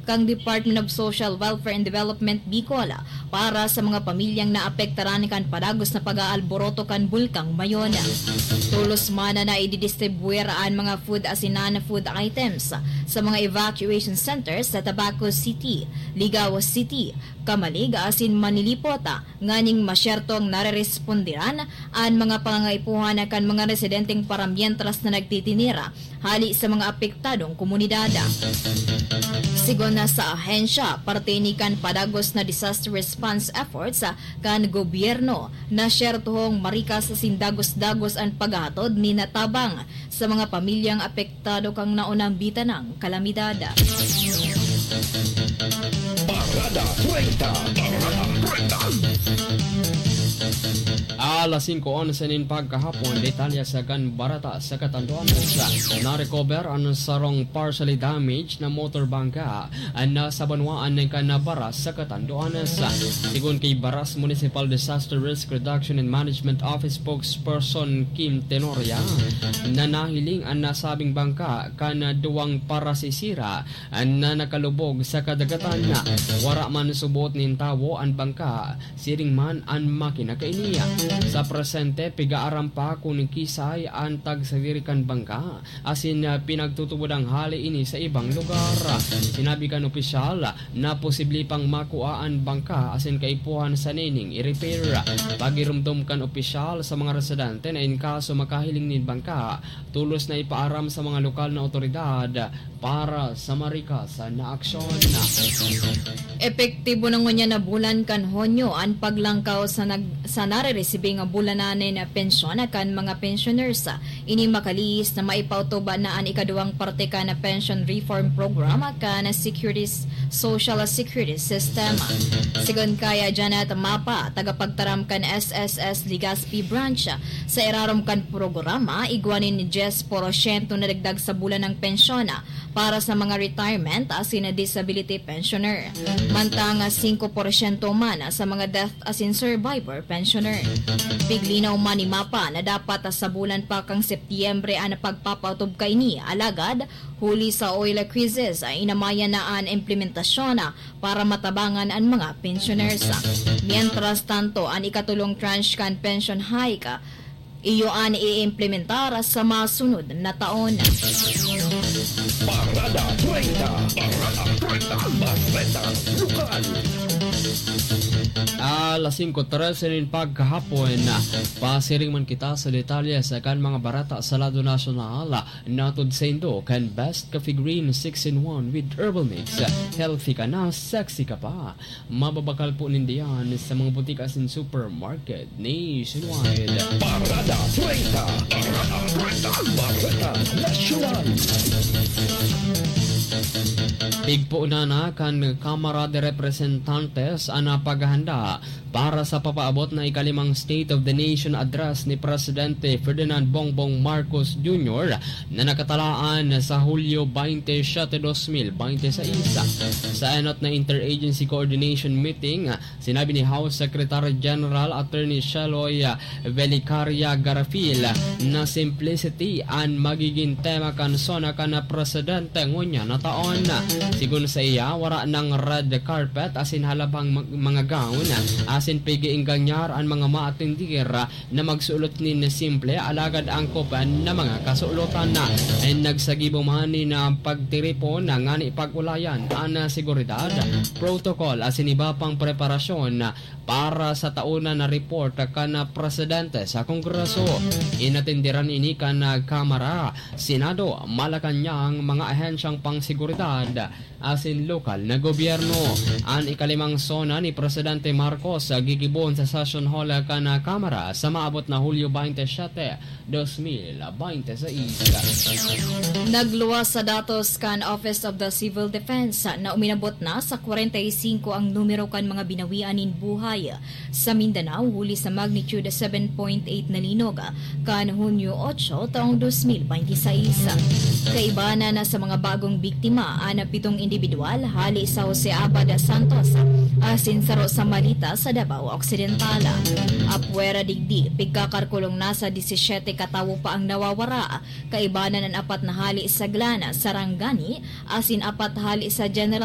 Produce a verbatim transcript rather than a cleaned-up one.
kan Department of Social Welfare and Development Bicol para sa mga pamilyang naapektaran kan padagos na pag-aalboroto kan Bulkang Mayon. Tolos man na ididistribuir an mga food asin non-food items sa mga evacuation centers sa Tabaco City, Ligao City, Camalig asin Manilipot, nganing masyertong narerespondiran an mga pangangaipuhan kan mga residenteng paramientras na nagtitinira hali sa mga apektadong komunidad. Sigon na sa ahensya, parte ini kan padagos na disaster response efforts kan gobyerno na syertohong marikas asin dagos-dagos an paghahatod nin tabang sa mga pamilyang apektado kan naunang bitanang kalamidad. Parada treinta. Parada treinta. Alas singko onse nin pagkahapon, detalye sa kan barata sa katanduanan. Na-recover an sarong partially damaged na motor bangka na sa banwaan kan Baras sa katanduanan. Sigon ki Baras Municipal Disaster Risk Reduction and Management Office Spokesperson Kim Tenoria, na nahiling an nasabing bangka kan duwang parasisira na nakalubog sa kadagatan. Wara man suboot nin tawo an bangka, siring man an makina kaini. Sa presente, pig-aaram pa kun kisay an tagsadiri kan bangka, asin, ah, pinagtutubod an hali ini sa ibang lugar. Sinabi kan opisyal na posible pang makua an bangka asin kaipuhan sa nining i-repair. Pagiromdom kan opisyal sa mga residente na in kaso makahiling nin bangka, tolos na ipaaram sa mga lokal na awtoridad para sa marikas na aksyon. Epektibo na ngunyan na bulan kan Hunyo an paglangkaw sa nag-, sa nareresibing bulanan nin pensyon kan mga pensioners. Ini makalihis na maipautob na an ikaduwang parte kan Pension Reform Program kan Securities, Social Security System. Sigon kay Janet Mapa, tagapagtaram kan S S S Legazpi Branch, sa irarom kan programa, igwa nin dyes porsyento na dagdag sa bulan ng pensyon para sa mga retirement asin disability pensioner, mantang singko porsyento man sa mga death asin survivor pensioner. Piglinaw man ni Mapa na dapat sa bulan pa kan Setyembre an pagpapautob kaini, alagad huli sa oil crisis, inamayan na an implementasyon para matabangan an mga pensioners. Mientras tanto, an ikatulong tranche kan pension hike iyo an iimplementar sa masunod na taon. Parada treinta. Parada treinta. Bareta Lokal. Alas singko trese nin pagkahapon, pasiring man kita sa detalye sa kan mga bareta sa lado nasyonal. Natod saindo kan Best Coffee Green six in one with Herbal Mix. Healthy ka na, sexy ka pa. Mababakal po ninda yan sa mga butika asin supermarket nationwide. Parada treinta. Parada treinta. Bareta Nasyonal. Pigpoon na kan Kamara de Representantes an paghahanda para sa papaabot na ikalimang State of the Nation Address ni Presidente Ferdinand Bongbong Marcos Junior na nakatalaan sa Hulyo baynte siyete, dos mil baynte sais. Sa enot na interagency coordination meeting, sinabi ni House Secretary General Attorney Sheloy Velicaria Garafil na simplicity an magigin tema kan SONA kan presidente ngunyan na taon. Sigon sa iya, wara nang red carpet asin halabhang mag-, mga gown asin pig-iingganyar an mga maatendir na magsuot nin simple alagad angkop na mga kasulotan. Nagsagibo man nin pagtiripon ngani pag-ulayan an seguridad, protocol asin iba pang preparasyon para sa taon na report kan presidente sa Kongreso. Inatenderan ini kan Kamara, Senado, Malacañang, mga ahensyang pangseguridad asin lokal na gobyerno. An ikalimang SONA ni Presidente Marcos gigibohon sa session hall kan Kamara sa maabot na Hulyo baynte siyete, dos mil baynte sais. Nagluwas sa datos kan Office of the Civil Defense na uminabot na sa kwarenta y singko ang numero kan mga binawian nin buhay sa Mindanao huli sa magnitude seven point eight na linog kan Hunyo otso taong dos mil baynte sais. Kaibanan na sa mga bagong biktima an pitong indibidwal hali sa Jose Abad Santos asin saro sa Malita sa Davao Occidental. Apwera digdi, pigkakalkulong nasa disisiyete ka tawo pa ang nawawara, kaibanan an apat na hali sa Glan, Sarangani, asin apat hali sa General